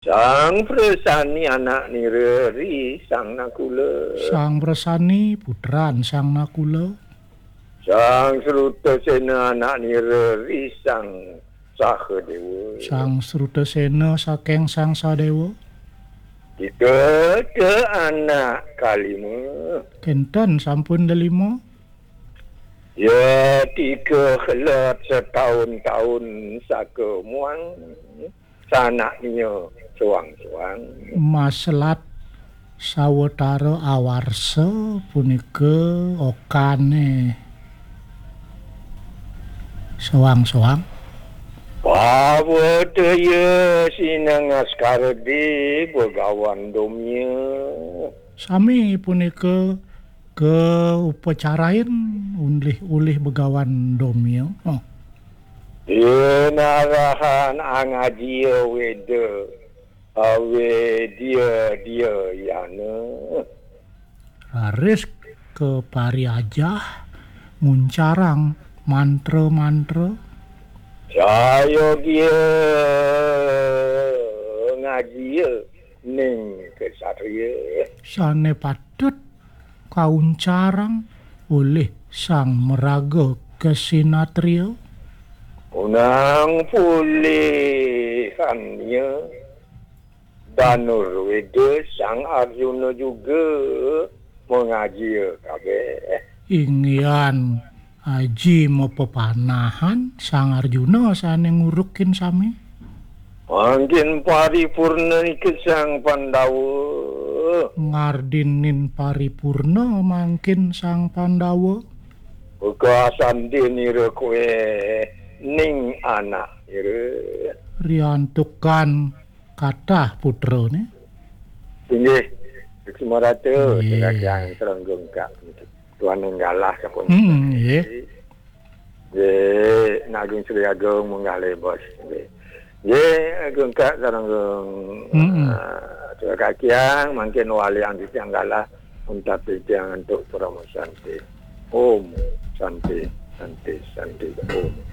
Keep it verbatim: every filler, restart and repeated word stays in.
Sang Presani anak nira ri Sang Nakula. Sang Presani putran Sang Nakula. Sang Srutasena anak nira ri Sang Sahadewa. Sang Srutasena saking Sang Sadewa. Kita ke anak kalima. Kenten sampun lelima. Ya tika kelet setahun-tahun saka muang. Sanak nia suang-suang. Maselat sawetara awarsa punika okane suang-suang. Pawetaya sinengaskara di Begawan Domia. Sami punika ke upacarain ulih-ulih Begawan Domia. Oh. Inarahan angajia weda awedia dia yana. Raris ke pariajah nguncarang mantra-mantra. Sayogia ngajia ning kesatria. Sane patut kauncarang olih sang maraga kesinatria. Unang pulihannya Danurweda Sang Arjuna juga mengajia kabeh. Inggihan aji mapepanahan Sang Arjuna sane ngurukin sami. Mangkin paripurna nika Sang Pandawa. Ngardinin paripurna mangkin Sang Pandawa. Uga sandinira kowe ning anak ira. Riantukan katah putrane. Inggih, Suksma Ratu, Nggih. Sinakyang Serenggung Kak. Tuan Nenggalah sampun. Hmm, nggih. Nggih, Naging Sri Agung munggah lebos. Nggih. Nggih, Agung Kak Serenggung. Hmm. Ah, Tuan Kakiang, mangkin wali anti tiang galah, untat tiang antuk Parama Santi. Om Santi, Santi, Santi, Om.